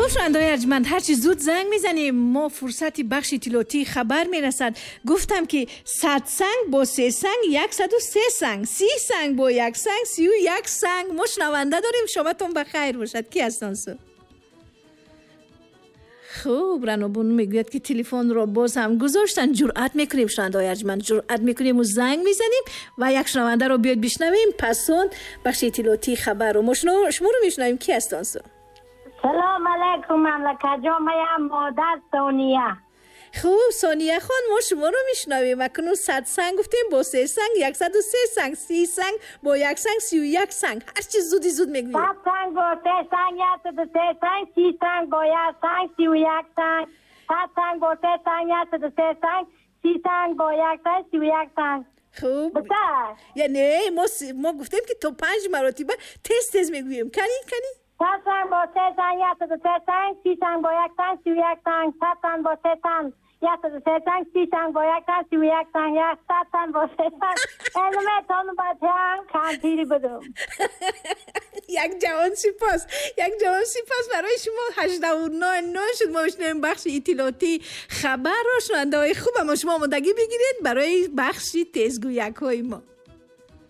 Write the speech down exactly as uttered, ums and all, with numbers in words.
Хуб, шунавандаҳои арҷманд, ҳарчи зуд занг мезанем, мо фурсати бахши иттилоотии хабар мерасад. Гуфтам ки сад санг бо се санг яксаду се санг, си санг бо як санг сию як санг. Мо шунаванда дорем, шоматон ба хайр бошад. Ки ҳастон су? Хуб, Ранобону мегӯяд, ки телефонро боз ҳам гузоштанд. Ҷуръат мекунем, шунавандаҳои арҷманд, ҷуръат мекунему занг мезанем ва як шунавандаро биёд бишнавем. Пас он бахши иттилоотии хабарро мо шуморо мешунавем. Ки ҳастон су? Салом алайкум, мамлакатҷон, маям модар Сония. Хуб, Сония хон, мо шуморо мешунавем. Акнун сад санг гуфтем, бо се санг яксаду се санг, си санг бо як санг сию як санг. Ҳарчи зуди зуд мегӯем. Сад санг бо се санг яксаду се санг, си санг бо як санг сию як санг. Сад санг бо се санг яксаду се санг, си санг бо як санг сию як санг. Хуб, яъне мо мо гуфтем, ки то панҷ маротиба тез тез мегӯем. Кани, кани. Сад санг бо се санг яксаду се санг, си санг бо як санг сию як санг. Сад санг бо се санг яксаду се санг, си санг бо як санг сию як санг, сад санг бо се санг. Элметон бачаам кампири будум. Як ҷавон сипос, як ҷавон сипос барои шумо. Ҳаждаҳу нол нол шуд, мо мешунавем бахши иттилоотии хабарро. Шунавандаҳои хуб, аммо шумо омодагӣ бигиред барои бахши тезгӯякҳои мо.